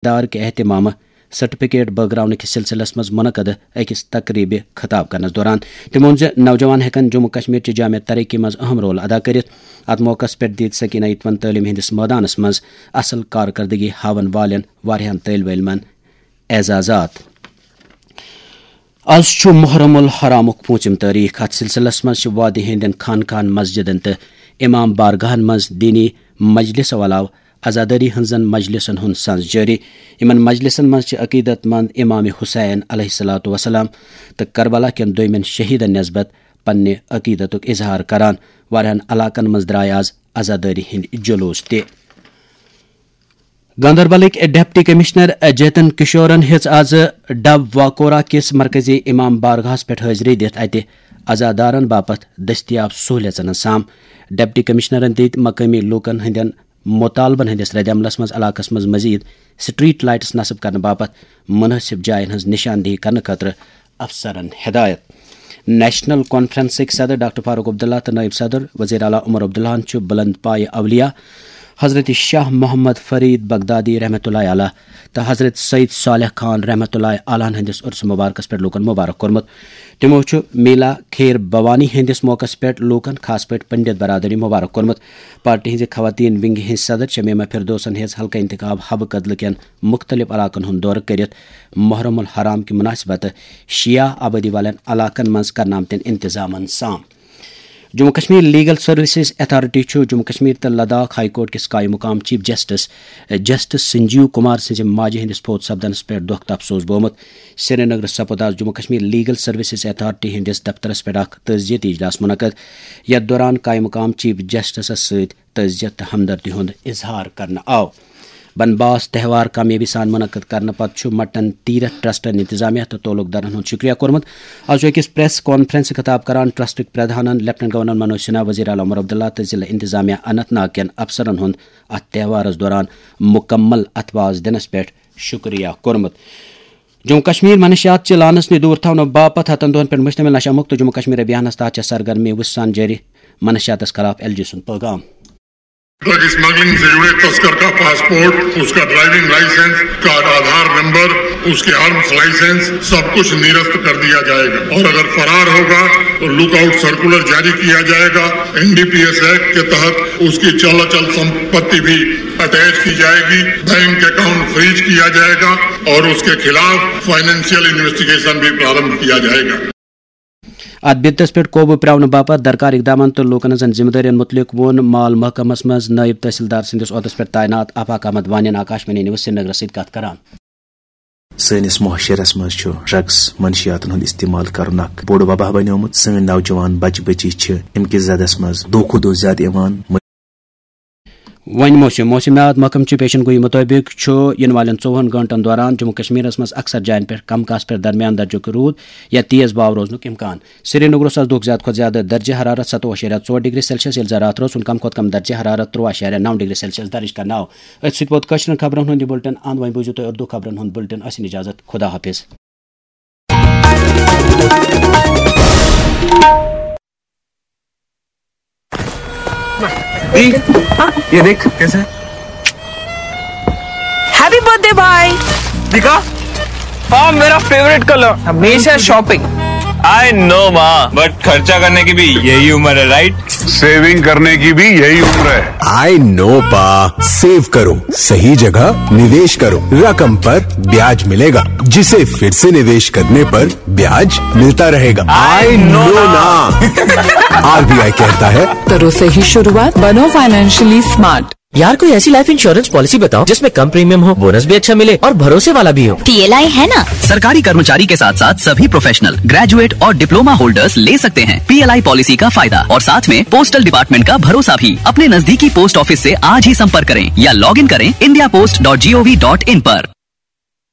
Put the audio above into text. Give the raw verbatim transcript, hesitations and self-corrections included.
دار کہ اہتمامہٕ سرٹیفکیٹ بٲگراونہٕ کِس سلسلس منٛز منعقد أکِس تقریبہِ خطاب کرنس دوران۔ تٔمۍ ووٚن زِ نوجوان ہٮ۪کن جموں کشمیر چہِ جامع ترقی منٛز اہم رول ادا کٔرِتھ۔ اتھ موقعس پٮ۪ٹھ دِتۍ سکینہ یتوَن تعلیٖم ہٕنٛدِس مٲدانس منٛز اصل کارکردگی ہاون والٮ۪ن واریاہن طٲلبہِ علمن اعزازات۔ از چھُ محرم الحرامُک پوٗنٛژِم تٲریخ۔ اتھ سلسلس منٛز چھِ وادی ہٕنٛدٮ۪ن خانقاہن، مسجدن تہٕ امام بارگاہن منٛز دینی مجلسو علاوٕ عزادٲری ہٕنٛزن مجلسن ہُنٛد سنز جٲری۔ یِمن مجلسن منٛز چھِ عقیدت مند امام حسین علیہ الصلوۃ والسلام تہٕ کربلا کٮ۪ن دویمٮ۪ن شہیدن نسبت پننہِ عقیدتُک اظہار کران۔ واریاہن علاقن منٛز درٛاے از عزادٲری ہٕنٛدۍ جلوس تہِ۔ گاندربلٕکۍ ڈپٹی کمشنر جیتن کشورن ہیٚژ از ڈب واکورا کِس مرکزی امام بارگاہس پٮ۪ٹھ حٲضری دِتھ اتہِ عزادارن باپتھ دٔستیاب سہولیژن ہٕنٛز سام۔ ڈپٹی کمشنرن دِتۍ مقٲمی لوٗکن ہٕنٛدٮ۪ن مطالبن ہٕنٛدِس ردعملس منٛز علاقس منٛز مزید سٹریٹ لائٹس نصب کرنہٕ باپتھ مناسب جاین ہٕنٛز نشاندہی کرنہٕ خٲطرٕ افسرن ہدایت۔ نیشنل کانفرنسٕکۍ صدر ڈاکٹر فاروق عبداللہ تہٕ نائب صدر وزیر اعلیٰ عمر عبداللہن چھُ بلند پایہِ اولیاء حضرت شاہ محمد فرید بغدادی رحمۃ اللہ علیہ تہٕ حضرت سید صالح خان رحمۃ اللہ علیہ ہٕنٛدِس عرس مبارکس پٮ۪ٹھ لوٗکن مبارک کوٚرمُت۔ تِمو چھُ میلا خیر بھوانی ہٕنٛدِس موقعس پٮ۪ٹھ لوٗکن، خاص پٲٹھۍ پنڈت برادری، مبارک کوٚرمُت۔ پارٹی ہٕنٛزِ خواتین ونگہِ ہٕنٛزِ صدر شمیمہ فردوسن ہیٚژ حلقہٕ انتخاب حبہٕ کدلہٕ کٮ۪ن مُختٔلِف علاقن ہُنٛد دورٕ کٔرِتھ محرم الحرام کہِ مناسبتہٕ شیعہ آبٲدی والٮ۪ن علاقن منٛز کرنہٕ آمتٮ۪ن انتظامن سام۔ Jammu Kashmir legal services authority چھُ جموں کشمیر تہٕ لداخ ہائی کورٹ کِس قائم مقام chief justice justice Sanjeev Kumar سٕنٛزِ ماجہِ ہٕنٛدِس فوت سپدنس پٮ۪ٹھ دۄکھ تہٕ افسوس بومُت۔ سرینگرس سپُد از Jammu Kashmir legal services authority ہٕنٛدِس دفترس پٮ۪ٹھ اکھ تعزیتی اجلاس منعقد، یتھ دوران قائم مقام چیف جسٹسس سۭتۍ تعزیت تہٕ ہمدردی ہُنٛد اظہار کرنہٕ آو۔ بنباس تہوار کامیٲبی سان منعقد کرنہٕ پتہٕ چھُ مٹن تیرتھ ٹرسٹن انتظامیہ تہٕ تعلق دارن ہُنٛد شکریہ کوٚرمُت۔ از چھُ أکِس پریس کانفرنس خطاب کران ٹرسٹٕکۍ پردھانن لیفٹننٹ گورنر منوج سنہا، وزیر اعلیٰ عمر عبداللہ تہٕ ضلع انتظامیہ اننت ناگ کٮ۪ن افسرن ہُنٛد اتھ تہوارس دوران مکمل اتھواز دِنس پٮ۪ٹھ شکریہ کوٚرمُت۔ جموں کشمیر منشیات چہِ لانس نِش دور تھاونہٕ باپتھ ہتن دۄہن پٮ۪ٹھ مشتمل نشہ مکت جموں کشمیر ابھیانس تحت چھےٚ سرگرمی وُژھ سان جٲری۔ منشیاتس خلاف ایل جی سُنٛد پیغام۔ ڈرگ اسمگلنگ سے جڑے تسکر کا پاسپورٹ، اس کا ڈرائیونگ لائسنس، اس کا آدھار نمبر، اس کے آرمز لائسنس، سب کچھ نرست کر دیا جائے گا اور اگر فرار ہوگا تو لک آؤٹ سرکولر جاری کیا جائے گا۔ N D P S act کے تحت اس کی چل اچل سمپتی بھی اٹیچ کی جائے گی، بینک اکاؤنٹ فریز کیا جائے گا اور اس کے خلاف فائنینشیل انویسٹیگیشن بھی پرارمبھ کیا جائے گا۔ اتھ بِدتس پٮ۪ٹھ قوبوٗ پرٛاونہٕ باپتھ درکار اقدامن تہٕ لوٗکن ہٕنٛزن ذمہٕ دٲرین مُتعلق ووٚن مال محکمس منٛز نٲیِب تحصیلدار سٕنٛدِس عۄہدس پٮ۪ٹھ تعینات آفاق احمد وانین آکاشوانی نیوز سرینگرس سۭتۍ کتھ کران۔ سٲنِس معاشرس منٛز چھُ ڈرگس، منشیاتن ہُنٛد استعمال کرُن اکھ بوٚڑ وبا بنیومُت۔ سٲنۍ نوجوان بچہٕ بچی چھِ امہِ کِس زدس منٛز دۄہ کھۄتہٕ دۄہ زیادٕ یِوان۔ وۄنۍ موسم۔ موسمیات محکمہٕ چہِ پیشن گویی مُطٲبِق چھُ یِنہٕ والٮ۪ن ژوٚوُہن گٲنٛٹن دوران جموں کشمیرس منٛز اکثر جاین پٮ۪ٹھ کم کاسہٕ پٮ۪ٹھ درمیان درجُک روٗد یا تیز باو روزنُک امکان۔ سرینگرس آز دۄہُک زیادٕ کھۄتہٕ زیادٕ درجہ حرارت ستوُہ اعشاریہ ژور ڈگری سیلسیس، ییٚلہِ زن راتھ روزُن کم کھۄتہٕ کم درجہ حرارت ترٛوُہ اعشاریہ نو ڈگری سیلسیس درج کرنہٕ آو۔ أتھۍ سۭتۍ ووت کٲشرٮ۪ن خبرن ہُنٛد یہِ بُلٹن اند۔ وۄنۍ بوٗزِو تُہۍ اردو خبرن ہُنٛد بُلٹن۔ ٲسِن اجازت، خدا حافظ۔ दी, ये देख कैसे। हैप्पी बर्थडे भाई। दिखा। हाँ, मेरा फेवरेट कलर, हमेशा शॉपिंग। आई नो माँ, बट खर्चा करने की भी यही उम्र है, राइट? सेविंग करने की भी यही उम्र है। आई नो पा। सेव करो, सही जगह निवेश करो, रकम पर ब्याज मिलेगा, जिसे फिर से निवेश करने पर ब्याज मिलता रहेगा। आई नो ना। आरबीआई कहता है, करो सही शुरुआत, बनो फाइनेंशियली स्मार्ट। यार, कोई ऐसी लाइफ इंश्योरेंस पॉलिसी बताओ जिसमें कम प्रीमियम हो, बोनस भी अच्छा मिले और भरोसे वाला भी हो। पीएलआई है ना। सरकारी कर्मचारी के साथ साथ सभी प्रोफेशनल, ग्रेजुएट और डिप्लोमा होल्डर्स ले सकते हैं पीएलआई पॉलिसी का फायदा और साथ में पोस्टल डिपार्टमेंट का भरोसा भी। अपने नजदीकी पोस्ट ऑफिस से आज ही संपर्क करें या लॉग इन करें India post dot G O V dot in पर।